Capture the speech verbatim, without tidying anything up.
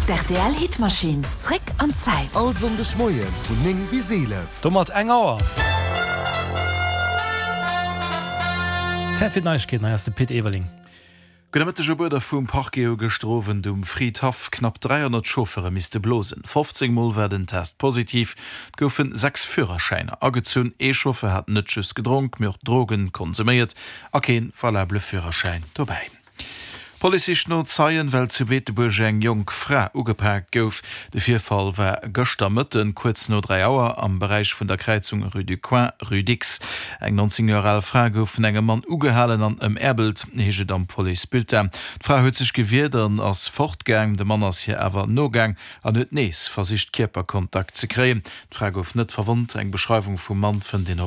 D'R T L Hitmaschinn. Zréck an d'Zäit. All Sonndegmoie vun néng bis eelef. Domat eng Auer. Zäit fir d'Neiegkeeten, hei ass de Pit Everling. Gudde Mëtteg. Op Uerder vum Parquet hu gëschter Owend um Fridhaff knapp dräihonnert Chauffeure misste blosen. fofzéng Mol war den Test positiv, et goufen sechs Führerschäiner agezunn. Ee Chauffeur hat net just gedronk, mee och Drogen konsuméiert a kee valabele Führerschäin dobäi. D'Police sicht no Zeien, well zu Beetebuerg eng jonk Fra ugepaakt gouf. De Virfall war gëschter Mëtten, kuerz no dräi Auer, am Beräich vun der Kräizung Rue du Coin, Rue Dicks. Eng neunzéng Joer al Fra gouf vun engem Mann ugehalen an ëmäerbelt, heescht et am Policebulletin. D'Fra huet sech gewiert an ass fortgaang. De Mann ass hir awer nogaang an huet nees versicht, Kierperkontakt ze kréien. D'Fra gouf net verwonnt. Eng Beschreiwung vum Mann fënnt een op.